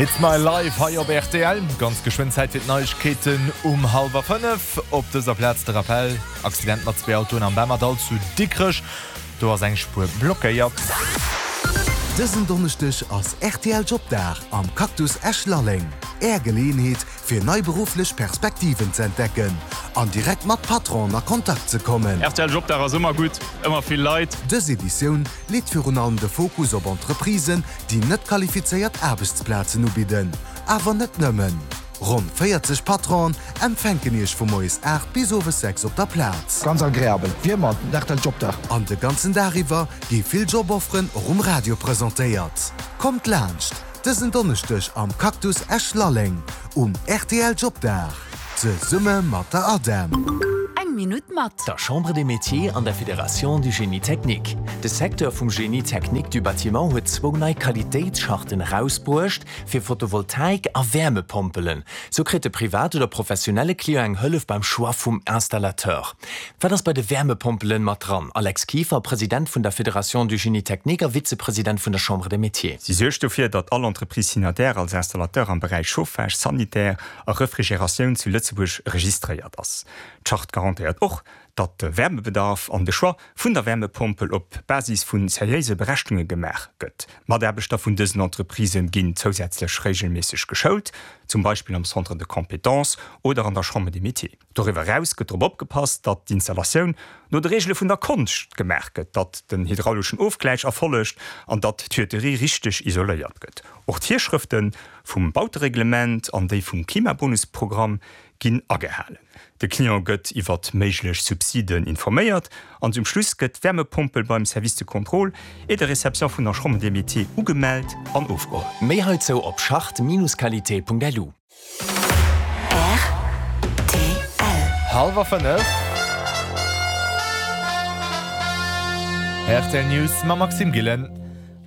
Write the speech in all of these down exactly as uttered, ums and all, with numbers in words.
It's my life hei op rtl. Ganz geschwënn Zäit fir d'Neiegkeeten um hallwer fënnef. Op dëser Plaz de Rappel, Accident mat zwee Autoen am Bemmerdall zu Dikrech, do ass eng Spuer blockéiert. Dësen Donneschdeg ass rtl Jobdag am Cactus Esch-Lalleng. Är Geleeënheet, fir nei berufflech Perspektiven ze entdecken an direkt mat Patronen a Kontakt ze kommen. Rtl Jobdag ass ëmmer gutt, ëmmer vill Leit. Dës Editioun leet virun allem de Fokus op Entreprisen, déi net qualifizéiert Aarbechtsplazen ubidden. Awer net nëmmen. Ronn véierzeg Patronen empfänken Iech vu moies aacht bis owes sechs op der Plaz. Ganz agreabel, wéi ëmmer, den rtl Jobdag. An de ganzen Dag iwwer gi vill Jobofferen och um Radio presentéiert. Kommt laanscht dësen Donneschdeg am Cactus Esch-Lalleng um rtl Jobdag, zesumme mat der ADEM. Eng Minutt mat. Der Chambre des Métiers an der Fédération du Génie technique. De Secteur vum Génie technique du bâtiment huet zwou nei Qualitéitscharten erausbruecht fir Photovoltaik a Wäermepompelen. Sou kritt de privat oder professionelle Client eng Hëllef beim Choix vum Installateur. Wat ass bei de Wäermepompelen mat dran? Alex Kieffer, President vun der Fédération du Génie technique a Vizepresident vun der Chambre des Métiers. Si suergt dofir, datt all Entreprise signataire als Installateur am Beräich Chauffage, Sanitär a Refrigératioun zu Lëtzebuerg registréiert ass. D'Charte garantéiert och, datt de Wärmebedarf an de Choix vun der Wärmepompel op Basis vu seriéise Berechnunge gemaach gëtt. D'Mataarbechter vun dësen Entreprisë ginn zousätzlech reegelméisseg geschoult, zum Beispill am Centre de compétences oder an der Chambre des Métiers. Doriwwer eraus gëtt drop opgepasst, datt d'Installatioun no de Reegele vun der Konscht gemaach gëtt, datt den hydrauleschen Ofgläich erfollegt an datt d'Tuyauterie richteg isoléiert gëtt. Och d'Virschrëfte vum Bautereglement an déi vum Klimabonusprogramm ginn agehalen. De Client gëtt iwwert méiglech Subsiden informéiert an zum Schluss gëtt d'Wärmepompel beim Service de contrôle et de réception vun der Chambre des Métiers ugemellt an ofgeholl. Méi heizou op charte-qualité.lu. Rtl. Hallwer fënnef. Rtl News mam Maxime Gillen.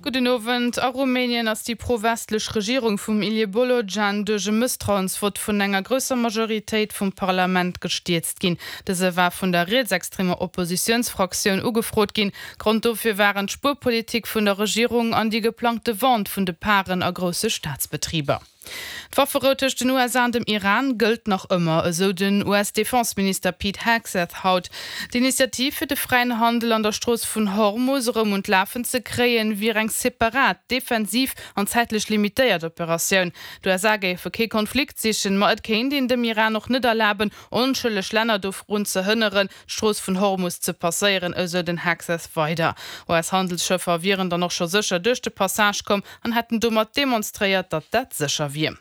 Gudden Owend. A Rumänien ass déi pro-westlech Regierung vum Ilie Bolojan duerch e Mësstrauensvott vun enger grousser Majoritéit vum Parlament gestierzt ginn. Dëse war vun der rietsextremer Oppositiounsfraktioun ugefrot ginn. Grond dofir waren d'Spuerpolitik vun der Regierung an déi geplangte Vente vun de Paren a grousse Staatsbetriber. D'Wafferou tëscht den U S A an dem Iran gëllt nach ëmmer, esou den U S-Defenseminister Pete Hegseth haut. D'Initiativ fir de fräien Handel an der Strooss vun Hormus erëm un d'Lafen ze kréien, wier eng separat, defensiv an zäitlech limitéiert Operatioun. D'U S A géife kee Konflikt sichen, ma et kéint een dem Iran och net erlaben, onschëlleg Länner dorun ze hënneren, d'Strooss vun Hormus ze passéieren, esou den Hegseth weider. U S-Handelsschëffer wieren dann och scho sécher duerch de Passage komm an hätten domat demonstréiert, datt dat sécher wier.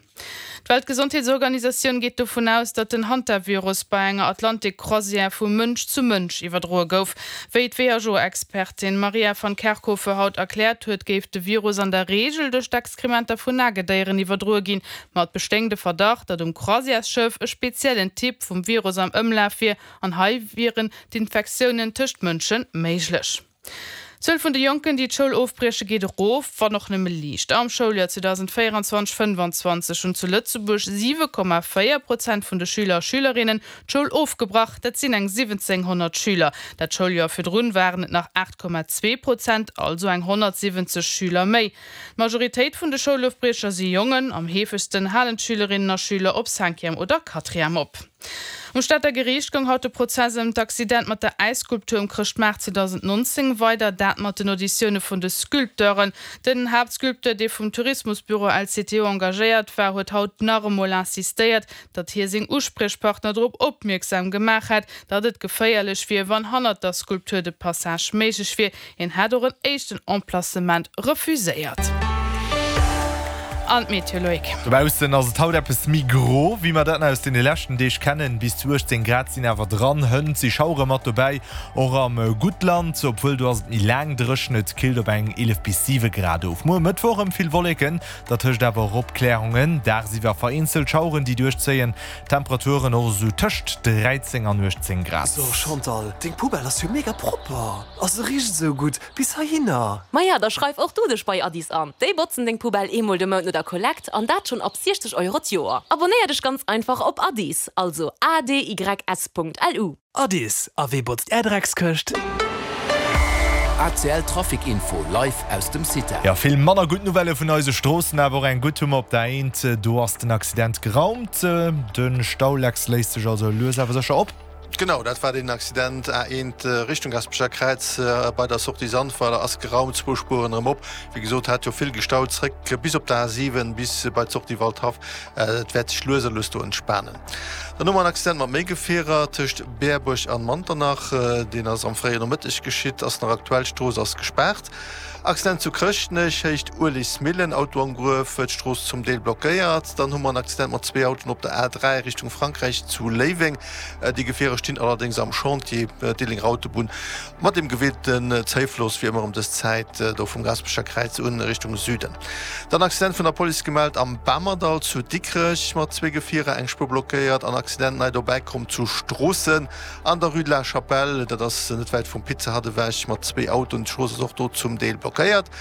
D'Weltgesondheetsorganisatioun geet dovun aus, datt den Hantavirus bei enger Atlantik-Croisière vu Mënsch zu Mënsch iwwerdroe gouf. Wéi d'W H O-Expertin Maria van Kerkhove haut erkläert huet, géif de Virus an der Reegel duerch d'Exkrementer vun Nagedéieren iwwerdroe ginn. Ma et bestéing de Verdacht, datt um Croisièresschëff e speziellen Typ vum Virus am Ëmlaf wier an hei wieren d'Infektiounen tëscht Mënsche méiglech. D'Zuel vun de Jonken, déi d'Schoul ofbrieche, geet erof, wann och nëmme liicht. Am Schouljoer zweedausendvéierundzwanzeg fënnwandzwanzeg hunn zu Lëtzebuerg siwe Komma véier Prozent vun de Schüler a Schülerinnen d'Schoul ofgebrach. Dat sinn eng siwwenzénghonnert Schüler. Dat Schouljoer virdrun waren et nach aacht Komma zwee Prozent, also eng honnertsiwwenzeg Schüler méi. D'Majoritéit vun de Schoulofbriecher si Jongen. Am heefegsten halen d'Schülerinnen a Schüler op Cinquième oder Quatrième op. Um Stater Geriicht goung haut de Prozess ëm d'Accident mat der Äisskulptur um Chrëschtmaart zweedausendnonzéng weider, dat mat den Auditioune vun de Sculpteuren. Den Haaptsculpteur, dee vum Tourismusbüro L C T O engagéiert war, huet haut nach emol insistéiert, datt hie seng Uspriechpartner drop opmierksam gemaach hätt, datt et geféierlech wier, wann hannert der Skulptur de Passage méiglech wier. Hien hätt och en éischten Emplacement refuséiert. An d'Meteo, Loïc. Dobaussen ass et haut eppes méi gro, wéi mer dat aus den leschten Deeg kennen. Bis zu uechtzéng Grad sinn awer dran. Hënt si Schauere mat dobäi, och am Guttland, obwuel do ass et méi laang dréchen. Et killt op eng eelef bis siwe Grad of. Muer Mëttwoch erëm vill Wolleken, dat tëscht awer och Opklärungen. Dagsiwwer vereenzelt Schaueren, déi duerchzéien. Temperaturen och esou tëscht dräizéng an uechtzéng Grad. So Chantal, deng Poubelle ass jo mega propper a se richt esou gutt bis heihinner. Maja, da schreif och du dech bei Addis an. Déi botzen deng Poubelle eemol de Mount no der Kollekt an dat schonn ab siechzeg Euro d'Joer. Abonéier dech ganz einfach op Addis, also A D Y S Punkt L U. Addis, a wee botzt är Dreckskëscht? ACL Trafic Info live aus dem CITA. Jo, vill manner gutt Nouvellë vun eise Stroossen, awer och eng gutt hu mer op der Eent. Do ass den Accident geraumt. De Staulex léist sech also lues awer sécher op. Genau, dat war deen Accident A eent Richtung Gaspecher Kräiz bei der Sortie Sandweiler ass geraumt, zwou Spueren erëm op. Wéi gesot, hat jo vill gestaut zréck bis op der A siwen bis bei d'Sortie Waldhaff. Et wäert sech lues a lues do entspanen. Dann hu mer en Accident mat méi Gefierer tëscht Berbuerg an Manternach. Deen ass am fréien Nomëtteg geschitt, ass nach aktuell, d'Strooss ass gespaart. Accident zu Chrëschtnech, Héicht Uelegsmillen, Auto am Gruef, d'Strooss zum Deel blockéiert. Dann hu mer en Accident mat zwee Autoen op der A dräi Richtung Frankräich zu Léiweng. Déi Gefierer stinn allerdéngs am Chantier Diddelenger Autobunn mat dem gewinnten Zéifloss wéi ëmmer ëm dës Zäit do vum Gaasperecher Kräiz un Richtung Süden. Dann Accident vun der Police gemellt am Bamerdall zu Dikrech mat zwee Gefierer, eng Spuer blockéiert an Accident nei dobäi komm zu Stroossen an der Rue de la Chapelle, dat ass net wäit vum Pizza Hut ewech, mat zwee Autoen. D'Strooss ass och do zum Deel blockéiert.